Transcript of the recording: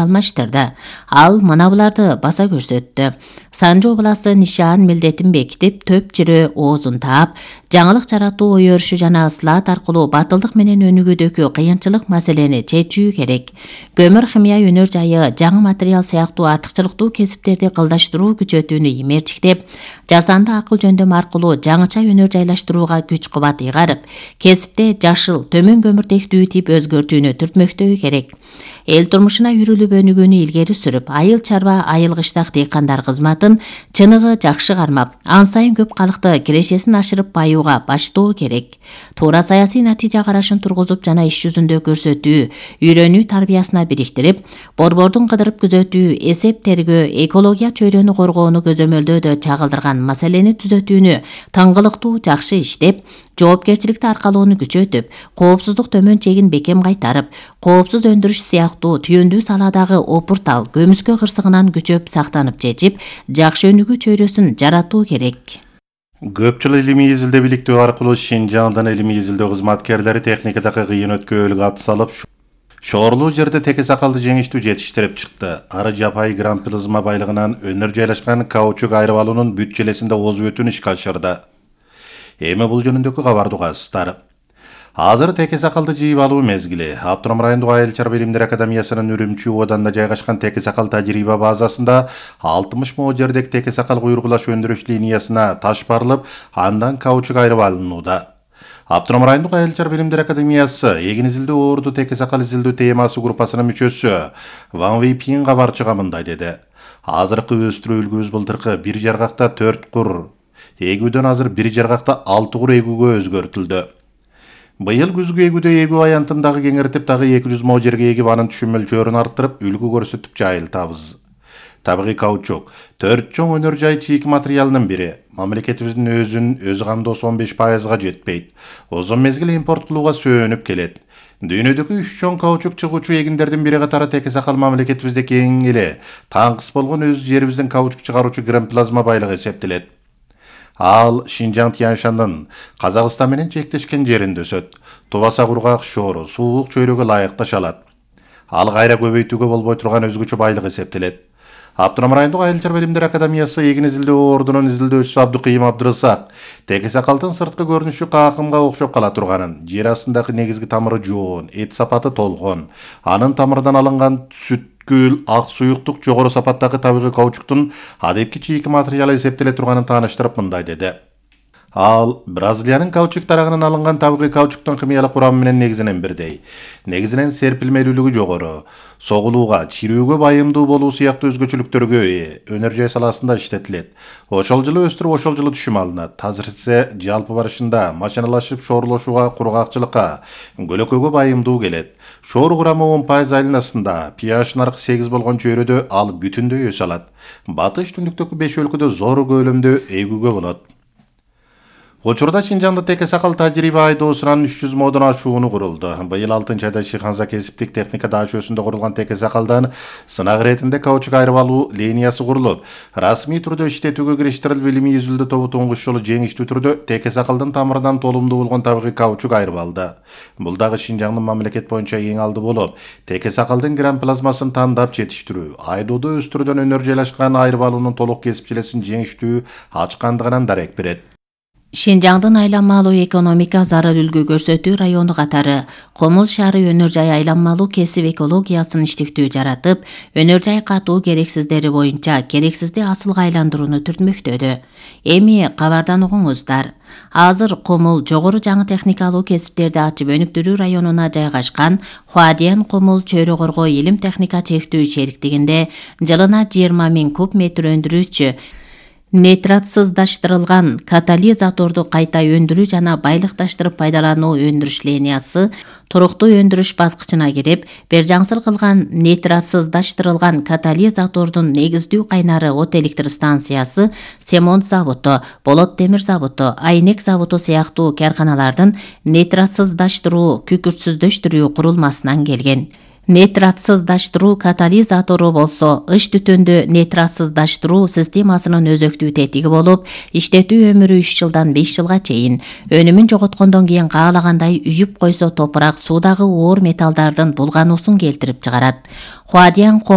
алмаштырды. Ал мына буларды баса көрсөттү. Санжы областы нишан милдетин бекитип, төп жирө оозун таап, жаңылык жаратуу ой өрүшү жана ыслаат аркылуу батылдык менен өнүгүүдөгү кыйынчылык маселени чечүү керек. Көмүр химия өнөр жайы, жаңы материал сыяктуу артыкчылыктуу кесиптерди кылдаштыруу күчөтүүнү имертиктеп, жасанды акыл жөндөм аркылуу жаңыча өнөр жайлаштырууга күч кубат ыйгарып, кесипте жашыл, төмөн көмүртектүү тип өзгөртүүнү түртмөктөө керек. Эл турмушуна үрүлүп өнүгүүнү илгери сүрүп, айыл чарба, айыл кыштак дыйкандар кызматын чыныгы жакшы кармап, ан сайын көп калыкты кирешесин ашырып баюуга баштоо керек. Туура саясий натыйжа карашын тургузуп жана иш жүзүндө көрсөтүү, үйрөнүү тарбиясына бириктирип, борбордун кыдырып күзөтүү, эсеп тергөө, экология чөйрөнү коргоону көзөмөлдөөдө чагылдырган маселени түзөтүүнү тыңгылыктуу жакшы иштеп, жоопкерчиликти аркалоону күчөтүп, коопсуздук төмөн чегин бекем кайтарып, коопсуз өндүрүш сыяктуу түйүндүү саладагы опуртал көмүскө кырсыгынан күчөп сактанып чечип, жакшы өнүгүү чөйрөсүн жаратуу керек. Көп жыл илимий изилдөө бийликтөө аркылуу Шинжаңдын илимий изилдөө кызматкерлери техникадагы кыйын өткөөлүккө ат салып, шоорлуу жерде теке сакалды жеңиштүү жетиштирип чыкты. Ары жапай гран плазма байлыгынан өнөр жайлашкан каучук айрып алуунун бүт желесинде озуп өтүүнү ишке ашырды. Эми бул жөнүндөгү кабарды угасыздар. Азыр теке сакалды жыйып алуу мезгили. Автоном райондук айыл чарба илимдер академиясынын Үрүмчү ооданда жайгашкан теке сакал тажрыйба базасында 60 мо жердеги теке сакал куйрукулаш өндүрүш линиясына таш барылып, андан каучук айрып алынууда. Автоном райондук айыл чарба илимдер академиясы эгин изилдөө оорду теке сакал изилдөө темасы группасынын мүчөсү Ван Вейпин кабарчыга мындай деди. Азыркы өстүрүү үлгүбүз былтыркы 1 жаргакта 4 кур эгүүдөн азыр 1 жаргакта 6 кур эгүүгө өзгөртүлдү. Быйыл күзгү эгүүдө эгүү аянтын дагы кеңиртип, дагы 200 мо жерге эгип, анын түшүм мөлчөрүн арттырып, үлгү көрсөтүп жайылтабыз. Табигый каучук 4 чоң өнөр жай чийик материалынын бири. Мамлекетибиздин өзү камдоосу 15%га жетпейт. Озон мезгил импорт кылууга сөөнүп келет. Дүйнөдөгү 3 чоң каучук чыгуучу эгиндердин бири катары теке сакал мамлекетибизде кең эле таңкыс болгон өз жерибиздин каучук чыгаруучу гран плазма байлыгы эсептелет. Ал Шинжаң Тяньшандын Казакстан менен чектешкен жеринде өсөт. Тубаса кургак, шоору, суук чөйрөгө ылайык ташалат. Ал кайра көбөйтүүгө болбой турган өзгөчө байлык эсептелет. Автоном райондук айыл чарба илимдер академиясы эгин изилдөө оордунун изилдөөчүсү Абдыкыйым Абдырысак теке сакалдын сырткы көрүнүшү какымга окшоп кала турганын, жер астындагы негизги тамыры жоон, эт сапаты толгон, анын тамырынан алынган сүткүл ак суюктук жогору сапаттагы табигый каучуктун адепки чийик материалы эсептеле турганын тааныштырып мындай деди. Ал Бразилиянын каучук тарагынан алынган табигый каучуктун химиялык курамы менен негизинен бирдей. Негизинен серпилмелүүлүгү жогору, согулууга, чирүүгө байымдуу болуу сыяктуу өзгөчөлүктөргө ээ, өнөр жай саласында иштетилет. Ошол жылы өстүрүп, ошол жылы түшүм алынат. Азыр ise жалпы барышында машиналашып шоорлошууга, кургакчылыкка, көлөкөгө байымдуу келет. Шоор курамы 10% айланасында, pH наркы 8 болгон чөйрөдө ал бүтүндөй өсө алат. Батыш түндүктөгү 5 өлкөдө зор көлөмдө эгүүгө болот. Учурда Шинжаңда теке сакал тажрыйба айдоосунан 300 модон ашууну курулду. Быйыл 6-айда Шиханза кесиптик техника даашөсүндө курулган теке сакалдан сынак иретинде каучук айрып алуу линиясы курулуп, расмий түрдө иштетүүгө кириштирилип, илимий изилдөө тобу туңгуч жолу жеңиштүү түрдө теке сакалдын тамырынан толумдуу болгон табигый каучук айрып алды. Бул дагы Шинжаңдын мамлекет боюнча эң алды болуп, теке сакалдын гран плазмасын тандап жетиштирүү, айдоодо өстүрүүдөн өнөр жайлашкан айрып алуунун толук кесип желесин жеңиштүү ачкандыгынан дарек берет. Шинжаңдын айланмалуу экономика зарыл үлгү көрсөтүү району катары Комул шаары өнөр жай айланмалуу кесип экологиясын иштиктүү жаратып, өнөр жай катуу керексиздери боюнча керексизди асылга айландырууну түртмөктөдү. Эми кабардан угуңуздар. Азыр Комул жогору жаңы техникалуу кесиптерди ачып өнүктүрүү районуна жайгашкан Хуадиан Комул чөйрө коргоо илим техника чектүү шериктигинде жылына 20 000 куб метр өндүрүүчү нейтратсыздаштырылган катализаторду кайта өндүрүү жана байлыкташтырып пайдалануу өндүрүш линиясы туруктуу өндүрүш баскычына кирип, бержаңсыр кылган нейтратсыздаштырылган катализатордун негиздүү кайнары от электр станциясы, Семонт заводу, Болот темир заводу, Айнек заводу сыяктуу карканалардын нейтратсыздаштыруу, күкүртсүздөштүрүү курулмасынан келген. Нейтратсыздаштыруу катализатору болсо ыш түтүндү нейтратсыздаштыруу системасынын өзөктүү тетиги болуп, иштетүү өмүрү 3 жылдан 5 жылга чейин. Өнүмүн жоготкондон кийин каалагандай үйүп койсо топурак суудагы оор металлдардын булгануусун келтирип чыгарат. Хуадиян